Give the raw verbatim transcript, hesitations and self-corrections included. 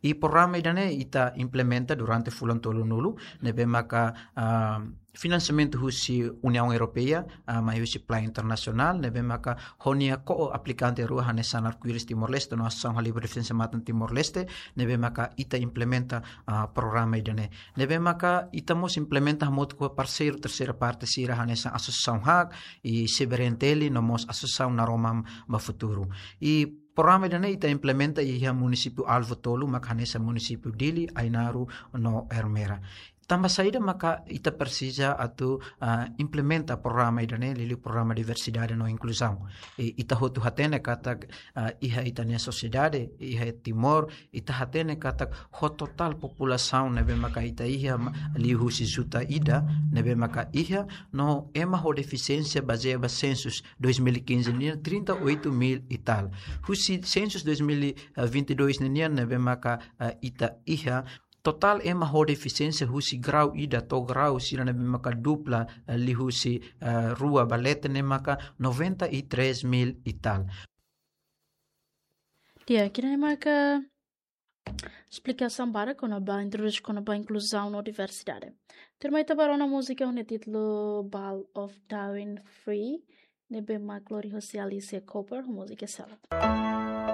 I programa ida-ne'e ita implementa durante fulan tolunulu, ne'ebé maka, ah, finansiamentu husi Uniaun Europeia, ah, mai husi planu internasionál, ne'ebé maka ho nia ko-aplikante rua hanesan Arco-Íris Timor-Leste no Asosiasaun Halibur Defensa Matan Timor-Leste, ne'ebé maka ita implementa, ah, programa ida-ne'e. Ne'ebé maka ita mós implementa hamutuk ho parseiru terseira parte sira hanesan Asosiasaun HAK, i CBRN-TL, no mós Asosiasaun Naroman ba Futuru. I programa ida-ne'e ita implementa iha munisípiu alvu tolu, maka hanesan munisípiu Dili, Ainaro no Ermera. Tanba saida maka ita presiza atu, ah, implementa programa ida-ne'e, liuliu programa diversidade no inkluzaun. I ita hotu hatene katak, ah, iha ita-nia sosiedade, iha Timor, ita hatene katak ho totál populasaun ne'ebé maka ita iha ma-, liuhusi juta ida, ne'ebé maka iha, no ema ho defisiénsia bazeia ba sensus dois mil e quinze nian trinta e oito mil e tal. Husi sensus dois mil e vinte e dois nian ne'ebé maka, eh, ita iha, totál ema ho defisiénsia husi grau ida to'o grau sira ne'ebé maka dupla, eh, liuhusi, eh, rua ba leten ne'e maka noventa e três mil e tal. Di'ak, ida-ne'e maka esplikasaun badak kona-ba, introdús kona-ba inkluzaun no diversidade. Tuirmai ita bá rona múzika ho nia títulu Ball of Darwin Free, ne'ebé mak lori hosi Alicia Cooper, múzika seluk.